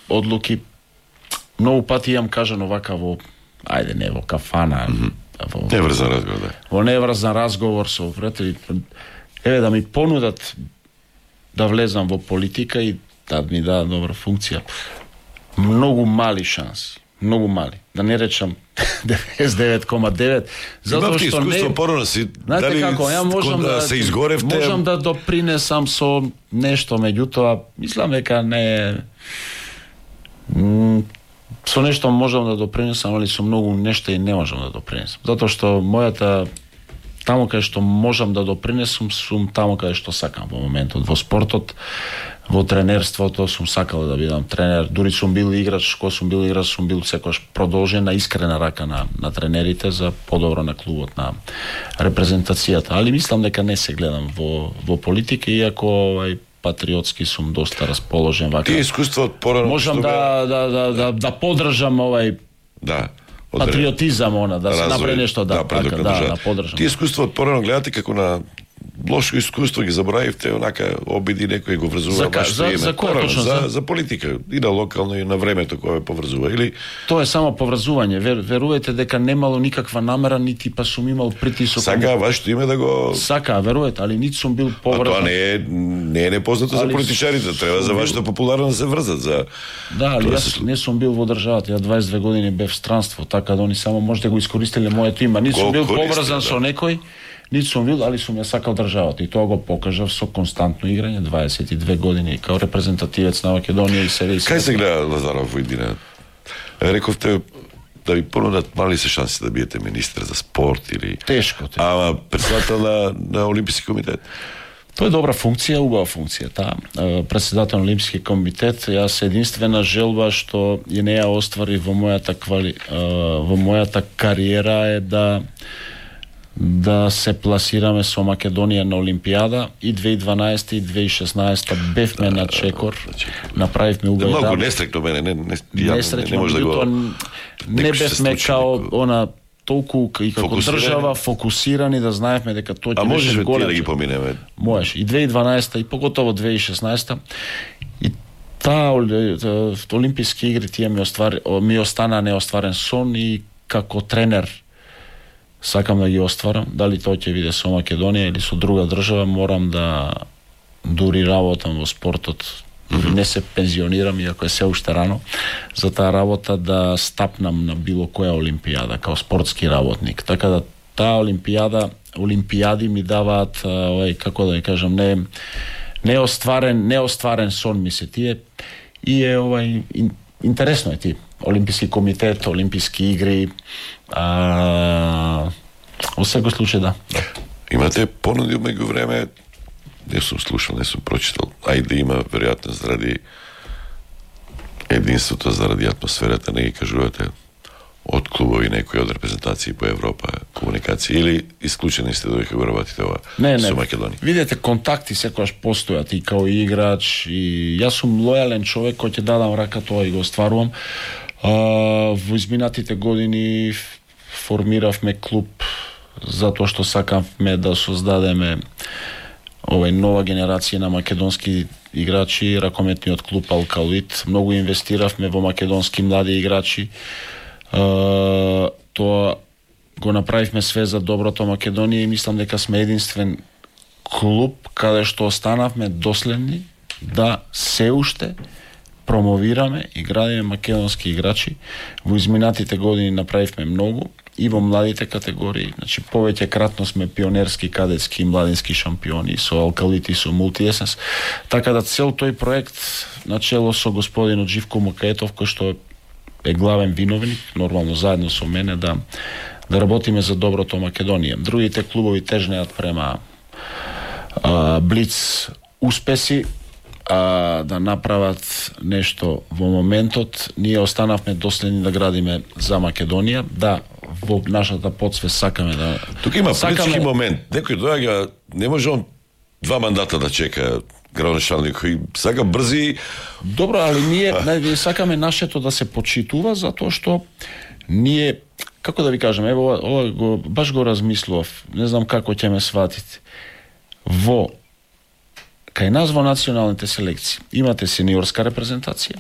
одлуки. Многу пати имам кажано вака во, ајде не во кафана, во неврзан разговор, да. Во неврзан разговор со пријатели, еве да ми понудат да влезам во политика и да ми дадат добра функција. Многу мали шанси, многу мали. Да не речам 99,9, затоа што искуство порано си, знаете дали како, ја можам да се изгоревте, можам да допринесам со нешто, меѓутоа мислам дека не со нешто можам да допринесам, али со многу нешто и не можам да допринесам. Затоа што мојата таму каде што можам да допринесам, сум таму каде што сакам во моментот. Во спортот, во тренерството сум сакал да бидам тренер. Дури сум бил играч, кога сум бил играч, сум бил секогаш продолжена искрена рака на тренерите за подобро на клубот, на репрезентацијата. Али мислам дека не се гледам во политика, иако патриотски сум доста расположен вака. Тие искуства од порано можам да поддржам патриотизам, да се направи нешто, да поддржам. Тие искуства од порано гледате како на лошо искуство, ги забравивте, онака обиди некој го врзува вашето име. За политика, и на локално, и на времето кое поврзува, или... Тоа е само поврзување. Верувајте дека немало никаква намера, нити па сум имал притисок. Сака вашето име да го... Сака, верувајте, али нити сум бил поврзан. А тоа не е непознато за политичарите, треба за вашето популарно да се врзат. Да, али јас не сум бил во државата, ја 22 години бев в странство, така да они само можете го искористиле моето име. Нити сум бил поврзан со некој, нити сум бил, али сум ја сакал државата и тоа го покажав со константно играње 22 години као репрезентативец на Македонија и серија. Кај се гледа Лазаров во иднина? Рековте да ви понудат, мали се шанси да биете министер за спорт или... Тешко. Ама председател на Олимписки комитет? Тоа е добра функција, убава функција, председател на Олимписки комитет. Јас единствена желба што ја не ја оствари во мојата кариера е да се пласираме со Македонија на Олимпијада и 2012 и 2016 бевме на чекор, направивме убави. Многу нестрекно мене, не може да го... Не бевме као она толку и како држава фокусирани да знаевме дека тоа ќе беше голем. А можеш да ги поминеме? Можеш. И 2012 и поготово 2016 и таа Олимписки игри тие ми остана неостварен сон и како тренер сакам да ги остварам. Дали тоа ќе биде со Македонија или со друга држава, морам да дури работам во спортот. Не се пензионирам, иако е се уште рано, за таа работа да стапнам на било која олимпијада, као спортски работник. Така да таа олимпијади ми даваат, како да ја кажам, неостварен сон ми се тие. И е интересно е ти. Олимписки комитет, Олимписки игри, во секој случај да. Имате понуди меѓу време, не сум слушал, не сум прочитал, ајде има веројатно заради единството, заради атмосферата, не ги кажувате од клубови некои од репрезентации по Европа, комуникација, или исклучени сте да ќе го работите ова со Македонија? Видете, контакти секогаш постојат и као играч, и јас сум лојален човек кој ќе дадам рака тоа и го остварувам. Во изминатите години формиравме клуб затоа што сакавме да создадеме нова генерација на македонски играчи, ракометниот клуб Алкалит. Многу инвестиравме во македонски млади играчи. Тоа го направивме све за доброто Македонија и мислам дека сме единствен клуб каде што останавме доследни да се уште промовираме и градиме македонски играчи. Во изминатите години направивме многу и во младите категории. Значи, повеќе кратно сме пионерски, кадетски и младински шампиони со Алкалит и со Мултиесенс. Така да цел тој проект, начело со господинот Живко Мукаетов, кој што е главен виновник, нормално заедно со мене, да работиме за доброто Македонија. Другите клубови тежнеат према блиц успеси, да направат нешто во моментот. Ние останавме доследни да градиме за Македонија, да во нашата подсвест сакаме да... Тука има политички момент. Некој доаѓа, не може он 2 мандата да чека градоначалник, кој сака брзи... Добро, али ние сакаме нашето да се почитува, затоа што ние, како да ви кажем, ево, ова баш го размислував, не знам како ќе ме сватите. Во Кај нас во националните селекции имате сениорска репрезентација,